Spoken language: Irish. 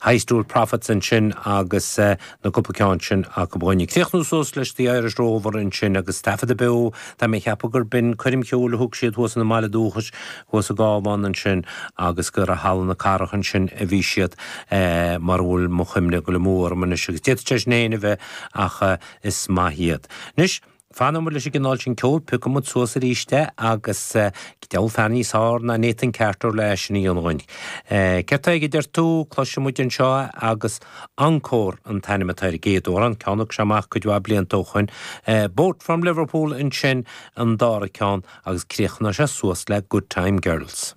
High Stool Prophets ansin agus na cúpla ceann sin acu dhúinn. Ag críochnú suas leis The Irish Rover ansin agus taifeadadh beo, tá mé ag ceapadh gur b'in coirm cheoil a thug siad thuas ina mbaile dúchais thuas i gCábhán ansin agus gur i Halla na Cathrach ansin a bhí siad mura bhfuil mo chuimhne ag dul amú orm anois agus d'fhéadfadh sé sin féin a bheith ach is maith iad. Anois, fanfaidh muid leis an gcineál sin ceoil, piocfaidh muid suas arís é agus diabhal fear níos fearr ná Nathan Carter le é sin a dhéanamh dhúinn. Céard tá aige a deir tú? Cloisfidh muid anseo é agus Encore an t-ainm atá ar an gcéad amhrán, ceann a thug sé amach cuid mhaith blianta ó shoin. Boat from Liverpool ansin an dara ceann agus críochnóidh sé suas le Good Time Girls.